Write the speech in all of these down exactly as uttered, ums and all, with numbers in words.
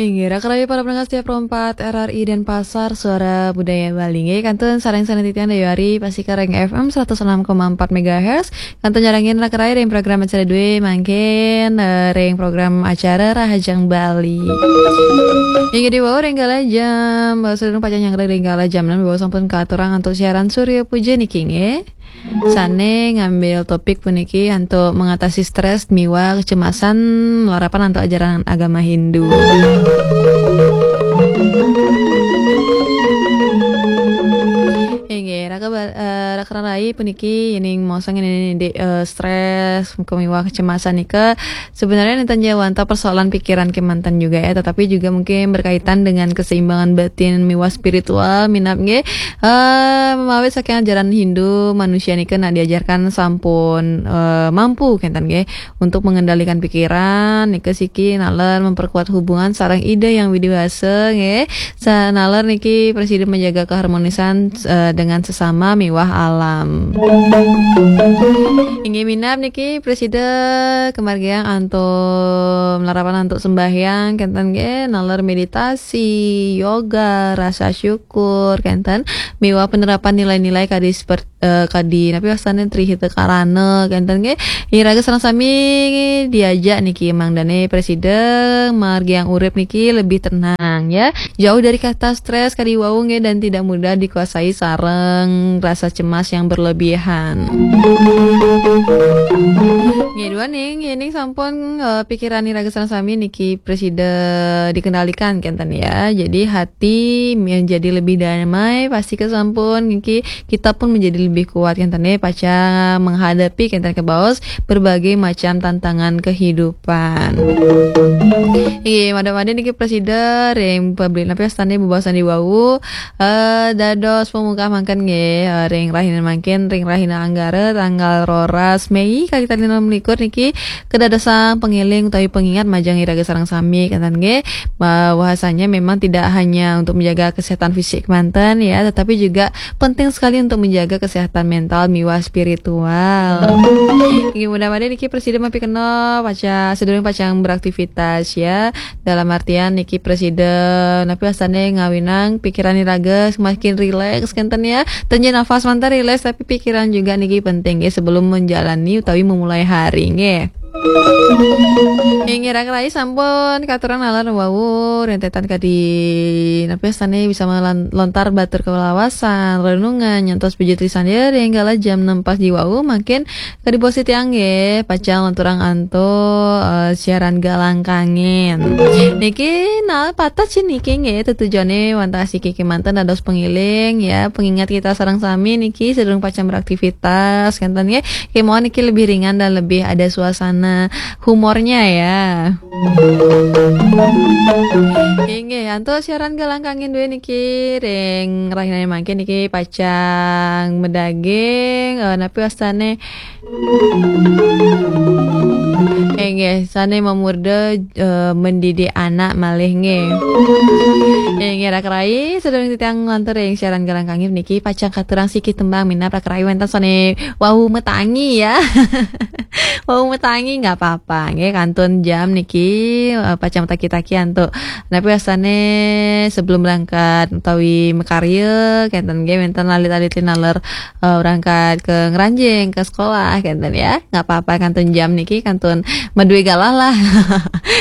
Inggih, raka rayi para pendengar setia Pro empat R R I Denpasar, Suara Budaya Bali. Inggih, kantun sareng-sareng titiang Dayu Ari, pasti ka ring F M seratus enam koma empat megahertz. Kantun nyarengin raka rayi ring program acara dué mangkin, eh, ring program acara Rahajeng Bali. Inggih, di wau ring galah jam, eh, sadurung pacang nyanggra ring galah jam enam, di wau sampun katurang antuk siaran Surya Puja niki, nggih. Sané ngambil topik puniki antuk mengatasi stres miwah kecemasan malarapan antuk ajaran agama Hindu. Inggih, raka ba-, eh, raka rayi puniki yéning maosang yéning, eh, stres miwah kecemasan nika sebenarnya nénten ja wantah persoalan pikiran kémanten juga ya, tetapi juga mungkin berkaitan dengan keseimbangan batin miwah spiritual minab nggih. Eh, mawit saking ajaran Hindu, manusia nika nak diajarkan sampun, eh, mampu kénten nggih untuk mengendalikan pikiran, nika siki naler memperkuat hubungan sareng Ida Hyang Widhi Wasa nggih. Sa-, naler niki prasida menjaga keharmonisan, eh, dengan sesama miwah alam. Inggih minab niki prasida kamargiang antuk malarapan antuk sembahyang kénten nggih, naler meditasi, yoga, rasa syukur kénten, miwah penerapan nilai-nilai kadi seperti, eh, kadi napi wastané Tri Hita Karana kénten nggih. Iraga sareng sami diajak niki mangdané prasida margiang urip niki lebih tenang ya. Jauh dari kata stres kadi wau nggih dan tidak mudah dikuasai sareng rasa cemas yang berlebihan. Nggih, duaning, yéning sampun, eh, pikiran iraga sareng sami niki prasida dikendalikan kénten ya. Jadi hati menjadi lebih damai, pasti kesampun niki kita pun menjadi lebih kuat kénten ya, pacang menghadapi kénten kabaos berbagai macam tantangan kehidupan. Inggih, mangda-mangda niki prasida ring pabli napi wastané bebaosan di wau, eh, dados pamungkah mangkin nggih, eh, ring rahina mangkin, ring rahina Anggara tanggal roras Mei kalih tali enam likur niki kadadosang pangeling utawi pengingat majeng iraga sareng sami kénten nggih, bahwasanya memang tidak hanya untuk menjaga kesehatan fisik manten ya, tetapi juga penting sekali untuk menjaga kesehatan mental miwah spiritual. Inggih, mudah-mudahan niki prasida mapikenoh pacang sadurung pacang beraktivitas ya. Dalam artian niki prasida napi wastané ngawinang pikiran iraga semakin rileks kénten ya. Ten ja nafas manten rileks tapi pikiran juga niki penting ya sebelum menjalani utawi memulai hari nggih. Inggih raka rayi sampun katurang nalar wau rentetan kadi napi wastané bisa melan-, lontar batur kalawasan, renungan, nyantos pujut lisan ya ring galah jam enam pas di wau mangkin kadi bos titiang nggih pacang lanturang antuk, eh, siaran Galang Kangin. Niki nah patah sih niki nggih tetujoné wantah siki kémanten dados pengiling ya, pengingat kita sareng sami niki sedurung pacang beraktivitas kénten nggih. Kémawon niki lebih ringan dan lebih ada suasana humornya ya. Inggih, antuk siaran Galang Kangin dué niki ring rahinané mangkin niki pacang madaging, eh, napi wastané. Inggih, sané mamurda, eh, mendidik anak malih nggih. Inggih, raka rayi, sadurung titiang nglantur ring siaran Galang Kangin niki pacang katurang siki tembang minab raka rayi wénten sané wau matangi ya. Wau matangi nggak apa-apa, nggih kantun jam niki, eh, pacang mataki-taki antuk. Napi wastané sebelum berangkat utawi makarya, kénten nggih wénten alit-alit naler, eh, berangkat ke ngranjing, ke sekolah, kénten ya. Nggak apa-apa kantun jam niki, kantun madué galah lah.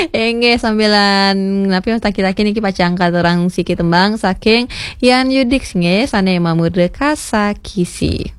Inggih sambilan napi mataki-taki niki pacang katurang siki tembang saking Yan Yudix nggih sané mamurda Kasakisi.